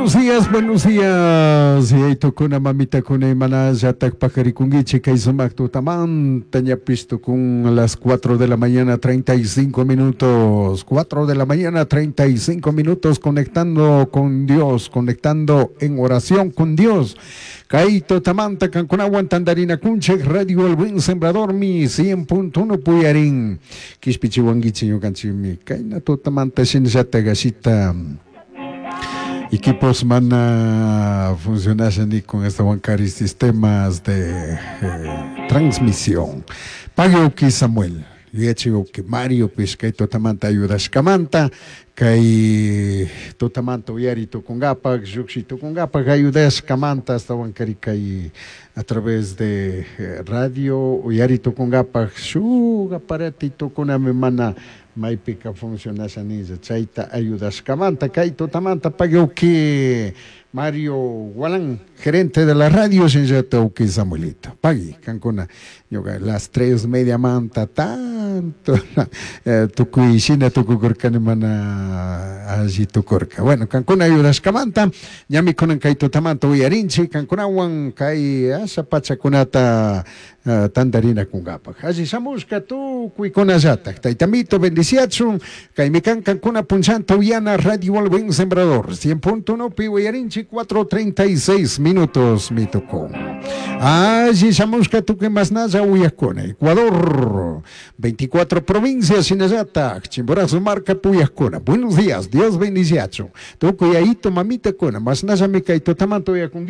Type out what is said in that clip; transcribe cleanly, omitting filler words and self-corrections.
Buenos días, buenos días. Yaytukuna, mamitakuna, imanallatak paqarikunkichik kay sumaq tutamanta ñapis tukun las 4 de la mañana 35 minutos. 4 de la mañana 35 minutos conectando con Dios, conectando en oración con Dios. Kay tutamanta kankunawan tantarinakunchik Radio El Buen Sembrador mi 100.1 puyarin. Kishpichiwankichik ñukanchikmi kayna tutamanta shinallatak ashita equipos mana funcionasha ni con esta sistemas de transmisión. Pague Samuel, yuyachik Mario pish kay tutamanta ayudashkamanta, kay tutamanta uyari tukungapak, llukshi tukungapak ayudashkamanta hasta wankari kay a través de radio uyari tukungapak shuk aparatitokunami mana maypika funcionasha ninlla chayta ayudashkamanta kay tutamanta pagui Mario Gualán, gerente de la radio shinllata uki Samuelito. Pagui, kankuna, ñuka las 3:30 manta tanto tukuy shina tukukurkani mana alli tukurka. Bueno, kankuna ayudashkamanta, ñami kunan kay tutamanta uyarinchik, kankunawan kay asha pachakunata tantarinakunkapak. Alli shamushka tukuykunallatak. Taytamito bendiciachun, kaymi kan kankuna punchanta uyana Radio El Buen Sembrador, 100.1 pi uyarinchik 4:36 minutos mitukun. Alli shamushka tukuy masnalla uyakuna. Ecuador, 24 provincias shinallatak, Chimborazo marka puyakuna. Buenos días, Dios bendiciachun. Tukuy ayito mamita kuna, masnallami kay tutamanta uyakunki.